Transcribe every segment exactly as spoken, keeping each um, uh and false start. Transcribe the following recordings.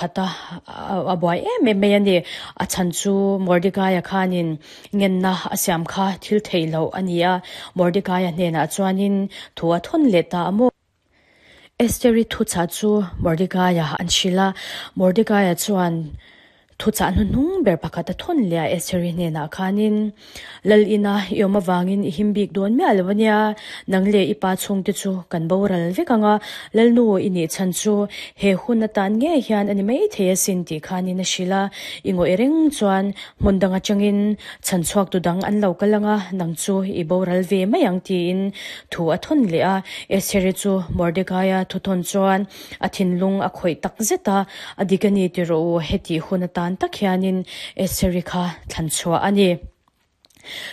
khat a, a buai em em mai a ni. A chhan chu Mordekaia khanin ngenna a siam kha thil theih loh a ni a, Mordekaia hnenah chuanin thu a thawn leh ta a maw? Esteri thuchah chu Mordekaia an hrilh a, Mordekaia chuan thuchah hnuhnung ber pakhat a thawn leh a Esteri hnenah khanin, Lal ina i awm avangin i him bik dawn miah lo a nia, nang leh i pa chhungte chu kan boral vek ang a, Lalnu i nih chhan chu he hun atan ngei hian a ni maithei asin tih khanin a hrilh a, i ngawih reng chuan hmun dang atangin chhan chhuak tu dang an lo kal ang a, nang chu i boral ve mai ang tiin thu a thawn leh a. Estheri chu Mordekaia thu thawn chuan a thinlung a khawih tak zet a, a dik a ni ti rawh u, hetih hun atan tak hianin Estheri kha thlan chhuah a ni.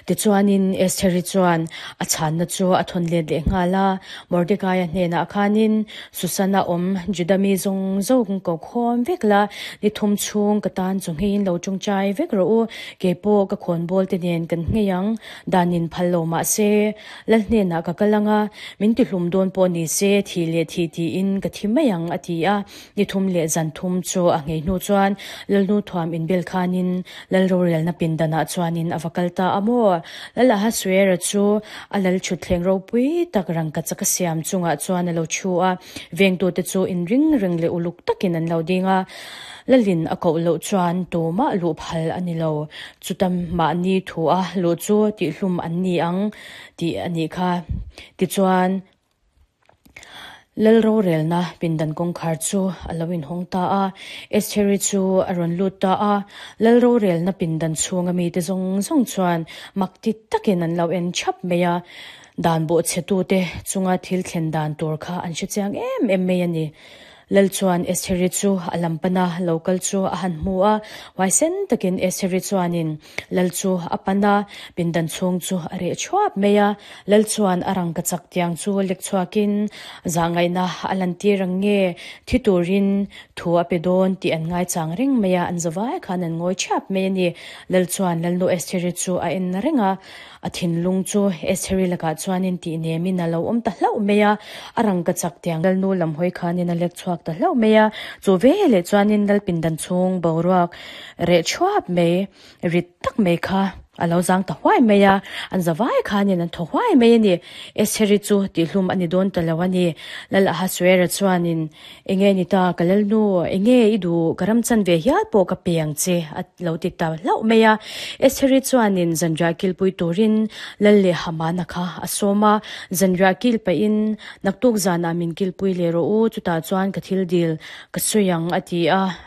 Tichuanin Estheri chuan a chhanna chu a thawn let leh nghal a, Mordekaia hnenah khanin Susana awm Juda mi zawng zawng ko khawm vek la, ni thum chhung ka tan chu ngheiin lo tawngtai vek rawh u, kei pawh ka khawnbawl te nen kan nghei ang, danin phal lo mah se, Lal hnenah ka kal ang a, min tihlum dawn pawh ni se, thih leh thih tiin ka thi mai ang, a ti a. Ni thum leh zan thum chu a nghei hnu chuan Lalnu thuam inbel khanin Lal rorelna pindanah chuanin a va kal ta a maw? Lal Ahasuera chu a lal thutthleng ropui tak rangkachak a siam chungah chuan a lo thu a, vengtute chu inring reng leh uluk takin an lo ding a. Lalin a koh loh chuan tumah luh phal a ni lo, chuta mahni thu a luh chu tihhlum an ni ang tih a nih kha. Tichuan. Lal rorelna pindan kawngkhar chu a lo inhawng ta a, Estheri chu a rawn lut ta a. Lal rorelna pindan chhunga mite zawng zawng chuan mak ti takin an lo en thap mai a, dan bawhchhetute chunga thil thlen dan tur kha an hrechiang em em mai a ni. Lal chuan Estheri chu a lam pan a, lo kal chu a han hmu a, huaisen takin Estheri chuanin Lal chu a pan a, pindan chhung chu a reh thuap mai a. Lal chuan a rangkachak tiang chu lek chhuakin zahngaihna a lantir ang nge, thi turin thu a pe dawn tih an ngaichang reng mai a, an zavai khan an ngawi thiap mai a ni. Lal chuan Lalnu Estheri chu a en reng a, a thinlung chu Estheri lakah chuanin tih nemin a lo awm ta hlauh mai a, a rangkachak tiang Lalnu lam hawi khanin a lek chhuak ta hlauh mai a, chu veleh chuanin Lal pindan chhung boruak reh thuap mai, rit tak mai kha a lo zang ta huai mai a, an zavai khanin an thaw huai mai a ni. Estheri chu tihhlum a ni dawn ta lo a ni. Lal Ahasuera chuanin, Enge ni ta, ka Lalnu, enge i duh, ka ram chan ve hial pawh ka pe ang che, a lo ti ta hlauh mai a. Estheri chuanin zanriah kilpui turin Lal leh Hamana kha a sawm a, zanriah kil pahin, Naktuk zanah min kilpui leh rawh u, chutah chuan ka thil dil ka sawi ang, a ti a.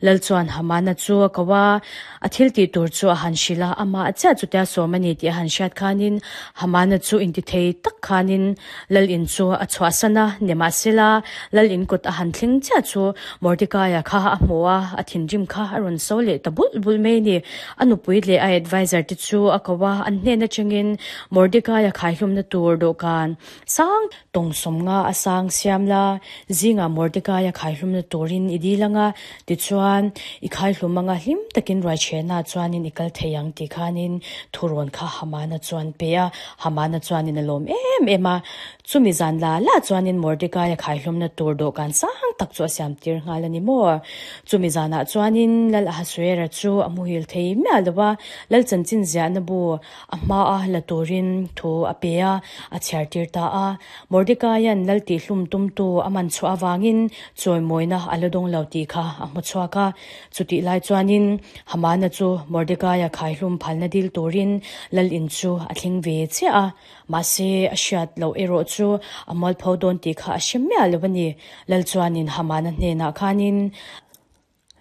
Lal chuan Hamana chu a ko a, a thil tih tur chu a han hrilh a, amah chiah chutia sawm a ni tih a han hriat khanin Hamana chu intithei tak khanin Lal in chu a chhuahsan a, nimahsela Lal in kut a han thleng chiah chu Mordekaia kha a hmu a, a thinrim kha a rawn so leh ta bulh bulh mai a ni. A nupui leh a adviser te chu a ko a, an hnen atangin Mordekaia khaihlumna tur dawhkan sang Tawng sawmnga a sang siam la, zingah Mordekaia khaihlumna turin i dil anga, tichuan i khaihlum anga hlim takin ruaichhehna chuanin i kal thei ang tih khanin thurawn kha Hamana chuan pe a. Hamana chuanin a lawm em em a, chumi zan la la chuanin Mordekaia khaihlumna tur dawhkan sang tak chu a siam tir nghal a ni maw? Chumi zanah chuanin Lal Ahasuera chu a muhil thei miah lo a, Lal chanchin ziahna bu a hmaa la turin thu a pe a, a chhiar tir ta a. Mordekaia'n lal tihhlum tumtu a man chhuah avangin chawimawina a la dawng lo tih kha a hmu chhuak a. Chutih lai chuanin Hamana chu Mordekaia khaihlum phalna dil turin lal in chu a thleng ve chiah a. Mahse, a hriat loh erawh chu a mualpho dawn tih kha a hre miah lo a ni. Lal chuanin Hamana hnenah khanin,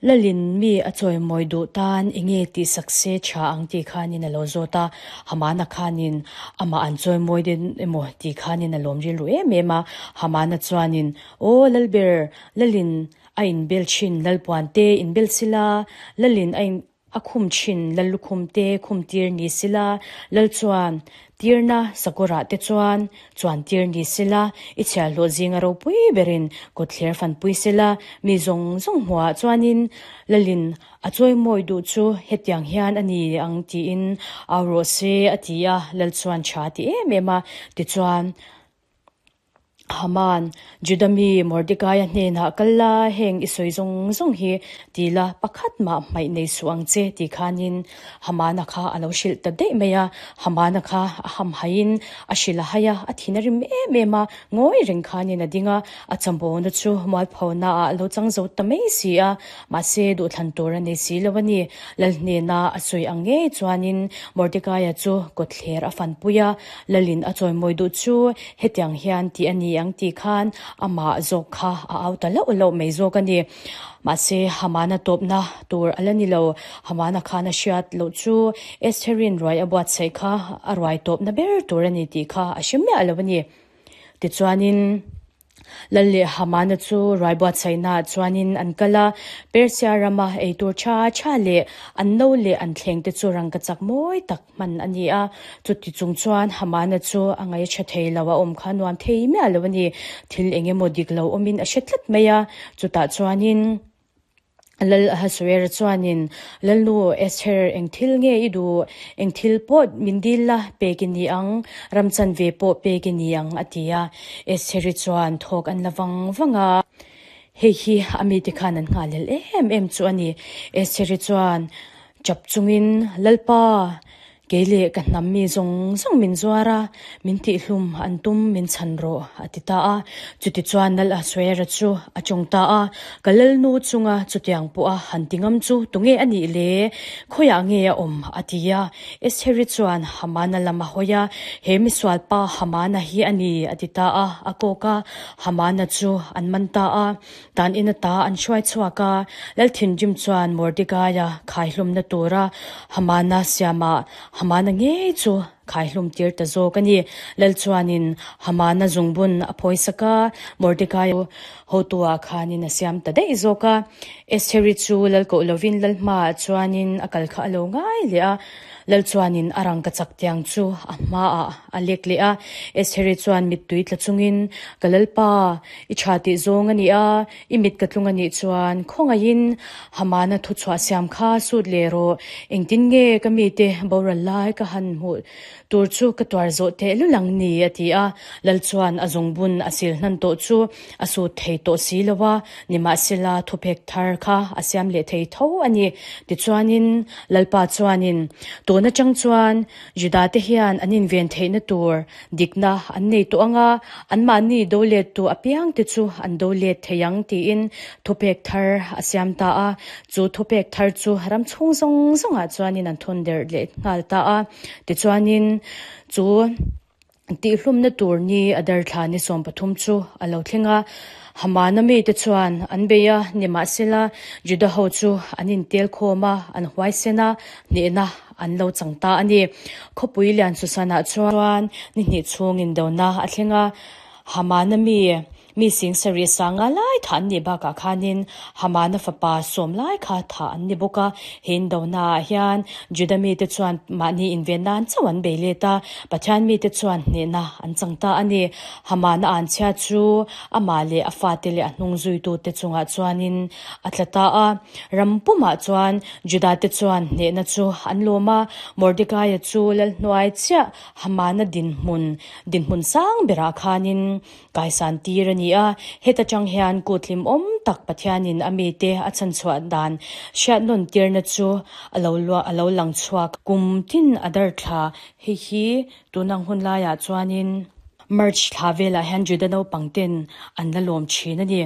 Lalin mi a chawimawi duh tan enge tih sak se tha ang tih khanin a lo zawt a, Hamana khanin amah an chawimawi den emaw tih khanin a lawm rilru em em a. Hamana chuanin, Aw Lalber, Lalin a inbel thin Lalpuan te inbel sila, Lalin a in a khum thin Lallukhum te khum tir ni sila, Lal chuan Tirna sakawrah te chuan chuan tir ni sela, i chhiahhlawh zinga ropui berin kawtthler fanpui sela, mi zawng zawng hmuhah chuanin Lalin a chawimawi duh chu hetiang hian a ni ang tiin au rawh se a ti a, Lal chuan tha ti em em a, tichuan. Haman, Juda mi Mordekaia hnenah kal la, heng i sawi zawng zawng hi ti la, pakhat mah hmaih nei suh ang che ti khanin Hamana kha a lo hrilh ta daih mai a. Hamana kha a hamhaiin a hrilh a hai a, a thin a rim em em a, ngawi reng khanin a ding a, a chambawna chu mualphona ah a lo chang zo ta mai si a, mahse duhthlan tur a nei si lo a ni. Lal hnena a sawi ang ngei chuanin Mordekaia chu kawtthler a fanpui a, Lalin a chawimawi duh chu hetiang hian tih a ni ang tih khan amah zawk kha a au ta loh loh mai zawk a ni. Mahse, Hamana tawpna tur a la ni lo. Hamana khan a hriat loh chu Estherin ruai a buatsaih kha a ruai tawpna ber tur a ni tih kha a hre miah lo a ni. Tichuanin. Lal leh Hamana chu ruai buatsaihnaah chuanin an kal a, Persia rama ei tur tha tha leh an no leh an thleng te chu rangkachak mawi tak hman a ni a. Chuti chung chuan Hamana chu a ngaih tha thei lo, a awm kha nuam thei miah lo a ni. Thil eng emaw dik lo awmin a hre tlat mai a, chutah chuanin. Lal Ahasuera chuanin, Lalnu Esther, eng thil nge i duh? Eng thil pawh min dil la, pek i ni ang, ram chanve pawh pek i ni ang, a ti a. Estheri chuan thawk an la vang vang a. Hei hi a mite khan an nghalel em em chu a ni. Estheri chuan chap chungin, Lalpa, Kei leh ka hnam mi zawng zawng min zuar a, min tihhlum an tum min chhan rawh, a ti ta a. Chutichuan Lal Ahasuera chu a tawng ta a, Ka lalnu chunga chutiang pawha han ti ngam chu tunge a nih le? Khawiah nge a awm? a ti a. Estheri chuan Hamana lam a hawi a, He misual pa Hamana hi a ni, a ti ta a. A kawk a, Hamana chu an man ta a. Dan in ata an hruai chhuak a, Lalthinrim chuan Mordekaia khaihlumna tura Hamana siamah Hamana ngei chu khaihlum tir ta zawk a ni. Lal chuanin Hamana zungbun a phawisak a, Mordekaia chu hotuah khanin a siam ta daih zawk a. Estheri chu lal koh lovin lal hmaah chuanin a kal kha a lo ngai leh a. Lal chuanin a rangkachak tiang chu a hmaah a lek leh a. Estheri chuan mittui tla chungin, Ka Lalpa, i tha tih zawng a ni a, i mit ka tlung a nih chuan khawngaihin Hamana thuchhuah siam kha sut leh rawh. Engtin nge ka mite boral lai ka han hmuh tur chu ka tuar zawh teh lul ang ni? a ti a. Lal chuan a zungbun a sil hnan tawh chu a sut thei tawh si lo a, nimahsela thupek thar kha a siam leh thei tho a ni. Tichuanin Lalpa chuanin tun atang chuan Juda-te hian an inven theihna tur dikna an nei tawh ang a, anmahni do lettu apiangte chu an do let thei ang tiin thupek thar a siam ta a. Chu thupek thar chu ram chhung zawng zawngah chuanin an thawn der leh nghal ta a. Tichuanin chu Tihhlumna tur ni a darthla ni sawm pathum chu a lo thleng a, Hamana mite chuan an bei a, nimahsela Juda ho chu an intel khawm a, an huaisen a, hnehna an lo chang ta a ni. Khawpui lian Susanah chuan ni hnih chhung indona a thleng a, Hamana mi Mi sing sarih sanga lai thah an nih bakah khanin Hamana fapa sawm lai kha thah an ni bawk a. He indonaah hian Juda mite chuan mahni inven nan chauh an bei let a, Pathian mite chuan hnehna an chang ta a ni. Hamana anchhia chu amah leh a fate leh a hnung zuitute chungah chuanin a tla ta a. Ram pumah chuan Judate chuan hnehna chu an lawm a, Mordekaia chu lalhnuai chiah Hamana dinhmun dinhmun sang berah khanin Kaisan tir a ni a, heta tang hian kut hlimawm tak Pathianin a mite a chhanchhuah dan hriat nawn tirna chu a lo luah a lo lang chhuak. Kum tin a dar thla hei hi tunang hun laiah chuanin March thla velah hian Juda naupang ten an la lawm thin a ni.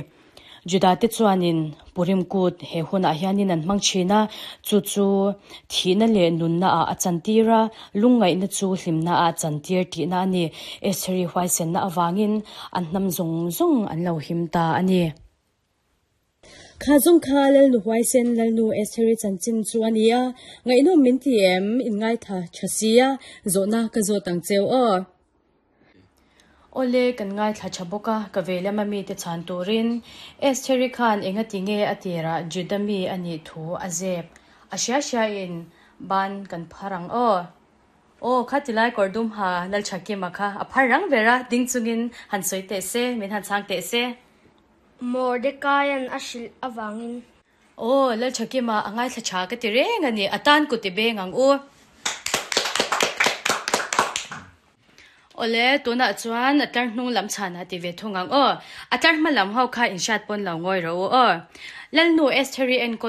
Judate chuanin Purim kut he hunah hianin an hmang thin a, chu chu thihna leh nunna ah a chantir a, lungngaihna chu hlimna ah a chantir tihna a ni. Estheri huaisenna avangin an hnam zawng zawng an lo him ta a ni. Kha zawng kha Lalnu huaisen Lalnu Estheri chanchin chu a ni a, ngaihnawm min ti em? Inngaitha tha sia, zawhna ka zawt ang cheu aw. Awle, kan ngaithla tha bawk a, ka vei lama mite chhan turin Estheri khan engati nge a tirah Juda mi a nih thu a zep a hria hria in ban kan phar ang aw. Aw, kha tilai kawr dum ha Lalthakima kha a phar rang ber a, ding chungin han sawi teh se, min han chhang teh se. Mordecaian a hrilh avangin. Aw, Lalthakima a ngaithla tha ka ti reng a ni, a tan kut i beng ang u. Awle, tunah chuan a tlar hnung lam chhanah ti ve thung ang aw. A tlar hma lam ho kha in hriat pawn lo ngawi rawh u aw. Lalnu Estheri enkawl